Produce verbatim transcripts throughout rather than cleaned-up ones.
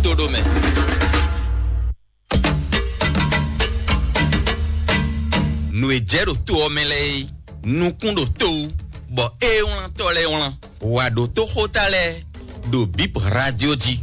to ɖo mɛ. Nǔ e jɛ ɖo to ɔ́ mɛ lɛ́ɛ é, nukún ɖo to wú, bɔ ée wlántɔ́ lɛ́ɛ wlán. Wǎ ɖo tó xóta lɛ́ɛ ɖo Bip Radio jí.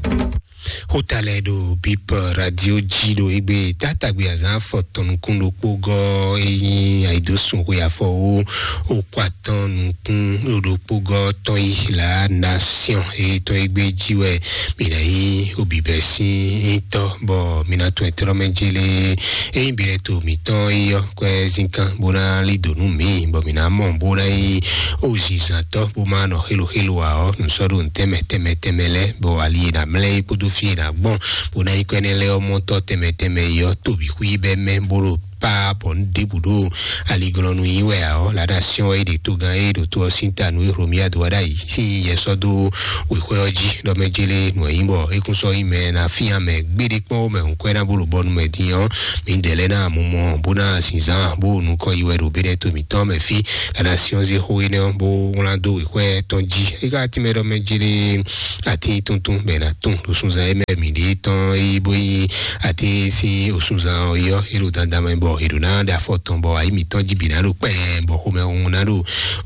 Xóta lɛ́ɛ ɖo Bip Radio jí ɖo égbé tátagbe azǎn afɔtɔn nukún ɖokpó gɔ́ é nyí ayǐdósun xwe afɔwó okú atɔn nukún ɖokpó gɔ́ tɔn yi La Nation é tɔn égbé jí wɛ mǐ ná nyí obǐbɛ́ sín nyitɔ́ bɔ mǐ ná tun ɛtɛ́nɔ́ mɛ jélé. Ényí bǐ lɛ́ to mǐtɔn é ɔ́, kwɛ́ zínkan bó ná lí dǒ nú mǐ, bɔ mǐ ná mɔ bó ná nyí ozǐnzǎntɔ́ bó má nɔ xéloxélo ǎ ɔ́, nǔ sɔ́ ɖo nǔ tɛnmɛ tɛnmɛ tɛnmɛ lɛ́ɛ, bɔ ali e ná mlɛ́ é kpódó fí e ná gbɔn, bó ná nyí kwɛ́ nɛ́ lɛ́ɛ ɔ́ mɔtɔ́ tɛnmɛ tɛnmɛ é ɔ́, to bǐ xwí bɛ́ mɛ bó ɖo pá bɔ nǔ ɖěbǔ ɖo aliglɔ́nú yí wɛ ǎ ɔ́, La Nation wɛ é ɖe togán e ɖo to ɔ́ sín ta nú é Hlomia dó wá ɖ'ayǐ sín yɛ sɔ́ dó wěxwɛ́ ɔ́ jí ɖɔ mɛ jélé nǔ e nyí bɔ é kún sɔ́ nyí mɛ ná fían mɛ gbéɖé kpɔ́n mɛ hǔn kwɛ́ ná bó ɖo bɔnu mɛ din ɔ́, mǐdɛɛ lɛ́ɛ ná mɔ mɔ bó ná zinzán bó nukɔn yi wɛ ɖo béɖɛ́ to mǐtɔn mɛ fí. La Nation zé xó énɛ́ ɔ́ bó wlán dó wěxwɛ́ tɔn jí. É ka tínmɛ ɖɔ mɛ jélé atín tuntun bɔ è nǎ tun ɖo sunzan e mɛ mǐ ɖe tɔn é bó nyí atín sín osunzan ɔ́ yɔ́ é ɖo dandan mɛ bɔ è ɖǒ ná ɖe afɔ tɔn bɔ ayǐ mǐtɔn jí bǐ ná ɖo kpɛɛ bɔ xomɛ hun ná ɖo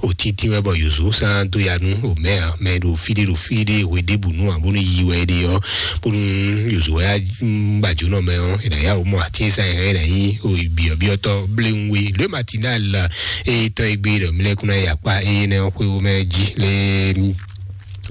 òtítí wɛ bɔ yǒzo sán dó ya nú omɛ ǎ mɛ ɖo fí ɖé ɖo fí ɖé hwe ɖěbǔ nú ǎ bónú yi wɛ é ɖe ɔ́ bónú yǒzo wɛ á gbàjónɔ mɛ ɔ́ è nǎ yá wǒ mɔ atín sa ɛ é nǎ nyí byɔ̌byɔ́tɔ́ bléwúnwé le matinal. Eye tɔn e gbé ɖɔ mí lɛ́ kún ná yi akpá eye nɛ́ ɔ́ xwé wó mɛ jí lé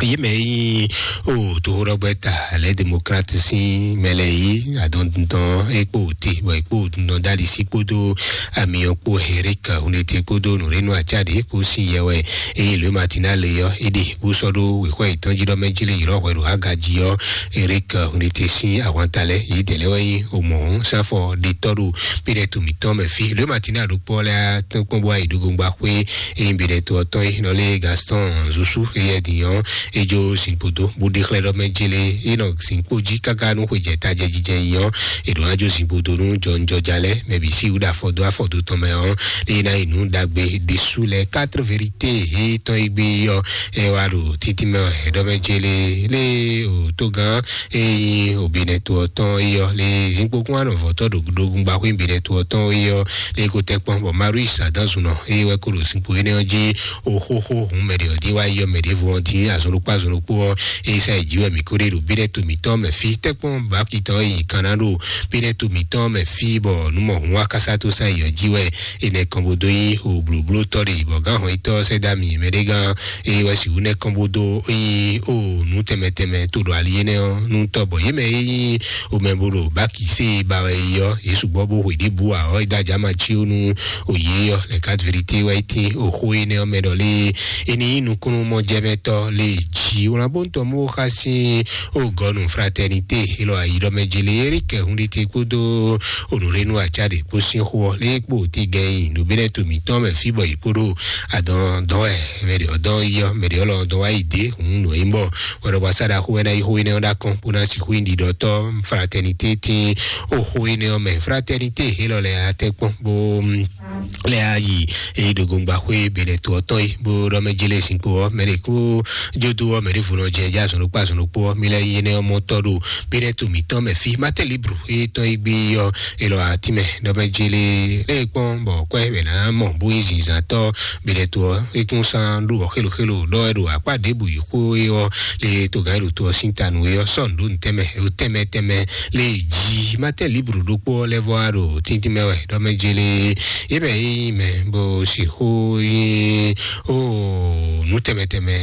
yě mɛ yi o toxoɖɔgbɛ ta lɛ démocrate sín mɛ lɛ yi adɔndundɔn e kpo te bɔ e kpo dundɔn dali sí kpódó amiyɔ kpo Eric Hundete kpódó nùrénu atsá ɖe kpo sín yɛ wɛ eye le matina le yɔ e ɖe bó sɔ́ ɖó wěxɔ yětɔn jí ɖɔ mɛ jí le ylɔ hwɛ ɖo aga jí yɔ. Eric Hundete sín ahwanta lɛ yě dɛ lɛ wɛ yi o mɔ sanfɔ ɖetɔ ɖo píɖɛ to mǐtɔn mɛ fí le matina ɖokpɔ lɛ atɔn kpɔn bó ayi ɖo gongba xwé eye bǐɖɛ to ɔtɔn yi nɔ lé Gaston Zusu eye din yɔ edzo zinkpo do bó ɖe xlɛ́ ɖɔ mɛ jele e nɔ zinkpo jí káká nú xwejɛ tajɛ jijɛ nyɔ eɖo adzo zinkpo do nú jɔnjɔja lɛ mɛ bǐ sí wúɖa afɔ dó afɔ dó tɔn mɛ ɔ́ eye ná yi nú ɖagbe ɖésú lɛ quatre vérité e tɔn yi gbé yɔ eye wá ɖo títí mɛ ɔ́ ɛɖɔ mɛ jele lé o tó gán eye obinɛ to ɔtɔn eyɔ lé zinkpo kún anɔ vɔtɔ ɖo ɖogun gbaxwé binɛ to ɔtɔn eyɔ lé ko tɛ kpɔn bɔ Marius adanzunɔ eye wɛ ko ɖo zinkpo énɛ́ ɔ́ jí oxóxó hun mɛ ɖě ɔ́ dín wá yɔ mɛ ɖěvo ɔ́ dín azɔn ɖokpó azɔn ɖokpó ɔ́ eye sa yi jí wɛ mǐ kó ɖe ɖo bínɛ to mǐtɔn mɛ fí tɛ́kpɔ́n bákitɔn e nyi kan ná ɖo bínɛ to mǐtɔn mɛ fí bɔ nǔ mɔ hun wá kásá tó sa yi ɔ́ jí wɛ enɛ kɔn bó dó nyí o blǒblótɔ́ ɖe bɔ gán hɔn yítɔ́ sɛ́ dó ami mɛ ɖé gán eye wɛ sixú nɛ́ kɔn bó dó nyí o nǔ tɛnmɛ tɛnmɛ to ɖo ali énɛ́ ɔ́ nú tɔ́ bɔ yě mɛ e nyí o mɛ bó ɖo bákisé ba wɛ yi ɔ́ yě sukpɔ́ bó hwe ɖěbǔ ǎ ɔ́ é dó ajá ma cí ó nú o yě ɔ́ lɛ kat vérité wɛ é tín o xó énɛ́ ɔ́ mɛ ɖɔ lé é ní nyí nukúnnú mɔjɛmɛtɔ́ lé jí wlán bó ń tɔ mó xá sín o gɔnu fraternité élɔ́ ayi ɖɔ mɛ jele Eric Hundete kpódó onùrénu atsá ɖě kpó sín xó ɔ́ lé kpó tí gɛn nyi nǔbínɛ́ to mǐtɔn mɛ fí bɔ yě kpó ɖo adɔn dɔn wɛ mɛ ɖě ɔ́ dɔn yi ɔ́ mɛ ɖě ɔ́ lɔ dɔn wá yi dé hǔn nǔ e nyí bɔ wɛ ɖɔ bɔ asáɖaxó wɛ ná yi xó énɛ́ ɔ́ ɖó akɔn bó ná sixú nyí ɖiɖɔtɔ́ fraternité tín o xó énɛ́ ɔ́ mɛ fraternité élɔ́ lɛ atɛ́kpɔ́n bó lɛ ayi eye ɖo gongba xwé benɛ to ɔtɔn yi bó ɖɔ mɛ jele sinkpo ɔ mɛ ɖe kó jodo ɔ mɛ ɖe vunɔ jɛ jɛ azɔn ɖokpó azɔn ɖokpó ɔ mi lɛ yi enɛ ɔmɔ tɔ ɖo benɛ to mǐtɔn mɛ fi matɛ libru eye tɔn yi gbé ɔ elɔ atimɛ ɖɔ mɛ jele lɛ kpɔn bɔ kɔɛ mɛ na mɔ bó yi zinzan tɔ benɛ to ɔ ekún san ɖo ɔ xelo xelo ɖɔ ɛ ɖo akpa ɖebu yi xó ɔ le to gan ɖo to ɔ sin tanu ɔ sɔn ɖo ntɛmɛ o tɛmɛ tɛmɛ le ji matɛ libru ɖokpó ɔ lɛ vɔ a ɖo tíntín mɛ wɛ ɖɔ mɛ jele Ebe yi mɛ bó sixú yí ó nú tɛmɛ tɛmɛ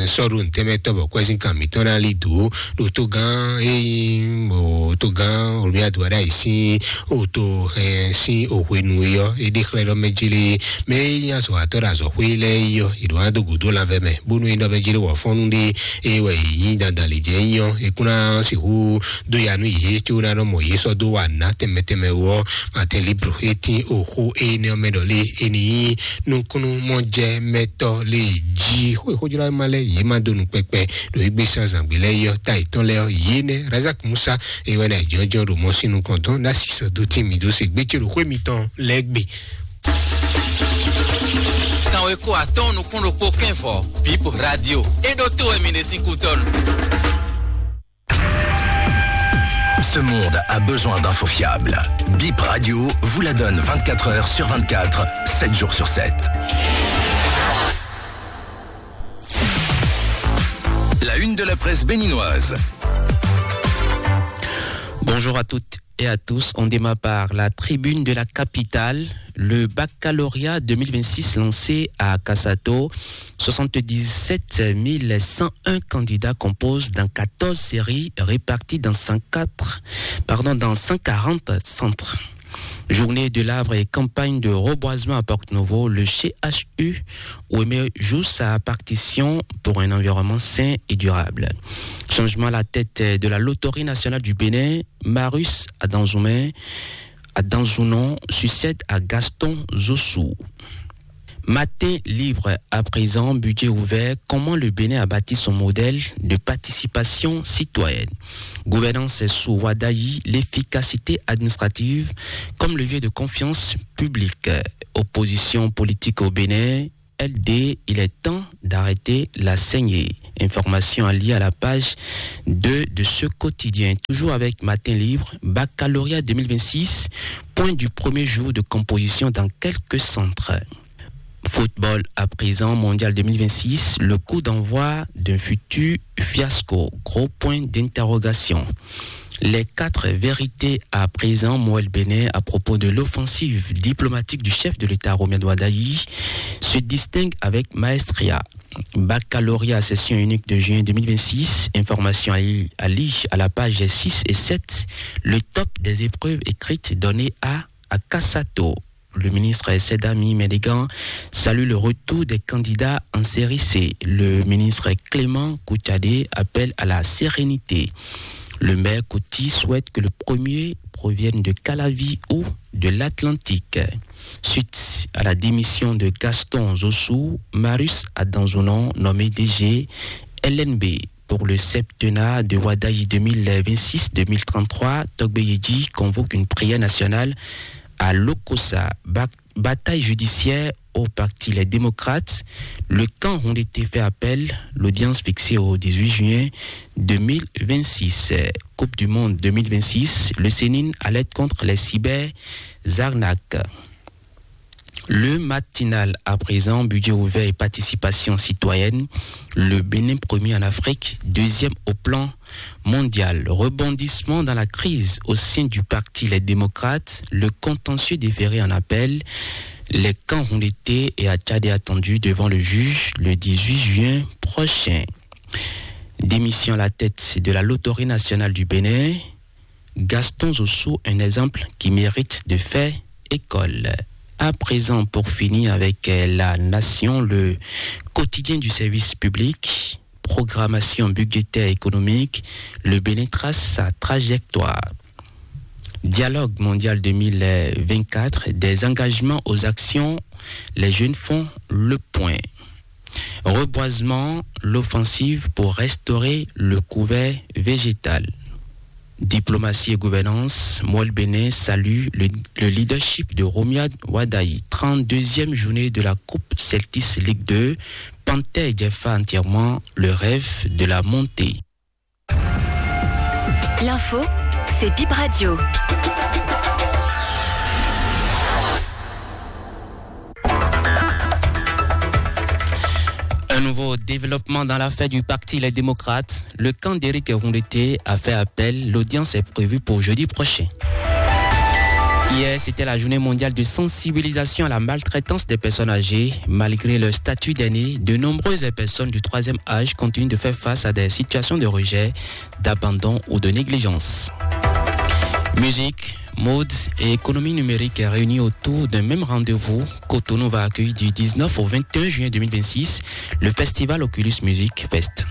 sɔ́ ɖo nǔ tɛmɛ tɔ́ bɔ kwɛ́sín kan mǐtɔn ná lí dǒ ɖo tó gán é nyí bó tó gán olùmíyàdó aɖá yìí sín ó tó hɛn sín òhwenu é yɔ é ɖe xlɛ́ ɖɔ mɛ jélé mɛ é nyí azɔ̌watɔ́ ɖo azɔ̌xwé lɛ́ɛ é yɔ è ɖǒ ná dó gǔdo lanvɛ mɛ bónú é ɖɔ mɛ jélé wɔ̌fɔ́nú ɖé é wɛ è nyí dandan lě jɛ é nyɔ é kún ná sixú dó ya nú yě có ná nɔ mɔ yě sɔ́ dó wa nǔ ná tɛnmɛ tɛnmɛ wú ɔ́, Martin Libro e tín oxó énɛ́ ɔ́ mɛ ɖɔ lé e ní nyí nukúnnú mɔjɛmɛtɔ́ lé jí xó e xójlá ma lɛ́ yě má dó nú kpɛkpɛ ɖo égbé sán zǎngbé lɛ́ɛ yɔ ta yětɔn lɛ́ɛ ɔ́, yě nɛ́ Razak Musa e wɛ ná jɔ́njɔ́n ɖo mɔ sín nukɔn dɔn ná sisɔ dó tín mì dó se gbé ce ɖo xwé mitɔn lɛ́ɛ gbe. Kanweko atɔ́ɔ́n nukún ɖokpó kɛ́n vɔ̌, Bip Radio. É ɖótó wɛ mi ɖe sín kútɔ́nu. Ce monde a besoin d'infos fiables. Bip Radio vous la donne vingt-quatre heures sur vingt-quatre, sept jours sur sept. La une de la presse béninoise. Bonjour à toutes et à tous. On démarre par la tribune de la capitale. Le baccalauréat deux mille vingt-six lancé à Kassato. Soixante-dix-sept mille cent un candidats composent dans quatorze séries réparties dans cent quatre, pardon, dans cent quarante centres. Journée de l'arbre et campagne de reboisement à Porte-Novo, le C H U Ouémé joue sa partition pour un environnement sain et durable. Changement à la tête de la Loterie nationale du Bénin, Marius Adanzoumé, Adanzounon succède à Gaston Zossou. Matin libre à présent, budget ouvert, comment le Bénin a bâti son modèle de participation citoyenne. Gouvernance sous Wadayi, l'efficacité administrative comme levier de confiance publique. Opposition politique au Bénin, L D, il est temps d'arrêter la saignée. Information à lire à la page deux de ce quotidien. Toujours avec Matin Libre, baccalauréat deux mille vingt-six, point du premier jour de composition dans quelques centres. Football à présent, mondial deux mille vingt-six, le coup d'envoi d'un futur fiasco. Gros point d'interrogation. Les quatre vérités à présent, Moël Bénin, à propos de l'offensive diplomatique du chef de l'État Romuald Wadagni, se distingue avec maestria. Baccalauréat session unique de juin deux mille vingt-six, information à lire à la page six et sept, le top des épreuves écrites donné à Akasato. Le ministre Sedami Medegan salue le retour des candidats en série C. Le ministre Clément Koutchadé appelle à la sérénité. Le maire Kouti souhaite que le premier provienne de Calavi ou de l'Atlantique. Suite à la démission de Gaston Zossou, Marius Adanzonon, nommé D G L N B pour le septennat de Wadayi deux mille vingt-six deux mille trente-trois, Togbe Yedji convoque une prière nationale à Lokossa. Ba-, bataille judiciaire au parti Les Démocrates. Le camp Houndété fait appel. L'audience fixée au dix-huit juin deux mille vingt-six. Coupe du Monde deux mille vingt-six, le Sénine alerte contre les cyberarnaques. Le Matinal à présent, budget ouvert et participation citoyenne. Le Bénin premier en Afrique, deuxième au plan mondial. Rebondissement dans la crise au sein du parti Les Démocrates. Le contentieux déféré en appel. Les camps Houndété et Atchadé attendus devant le juge le dix-huit juin prochain. Démission à la tête de la Loterie nationale du Bénin. Gaston Zossou, un exemple qui mérite de faire école. À présent, pour finir avec, euh, La Nation, le quotidien du service public, programmation budgétaire économique, le Bénin trace sa trajectoire. Dialogue mondial deux mille vingt-quatre, des engagements aux actions, les jeunes font le point. Reboisement, l'offensive pour restaurer le couvert végétal. Diplomatie et gouvernance, Moël Bénin salue le, le leadership de Romuald Wadagni. Trente-deuxième journée de la Coupe Celtics Ligue deux, Panthère Jeffa entièrement le rêve de la montée. L'info, c'est Bip Radio. Un nouveau développement dans l'affaire du parti Les Démocrates. Le camp d'Éric Houndété a fait appel. L'audience est prévue pour jeudi prochain. Hier, c'était la journée mondiale de sensibilisation à la maltraitance des personnes âgées. Malgré leur statut d'aîné, de nombreuses personnes du troisième âge continuent de faire face à des situations de rejet, d'abandon ou de négligence. Musique, mode et économie numérique réunis autour d'un même rendez-vous. Cotonou va accueillir du dix-neuf au vingt et un juin deux mille vingt-six le festival Oculus Music Fest.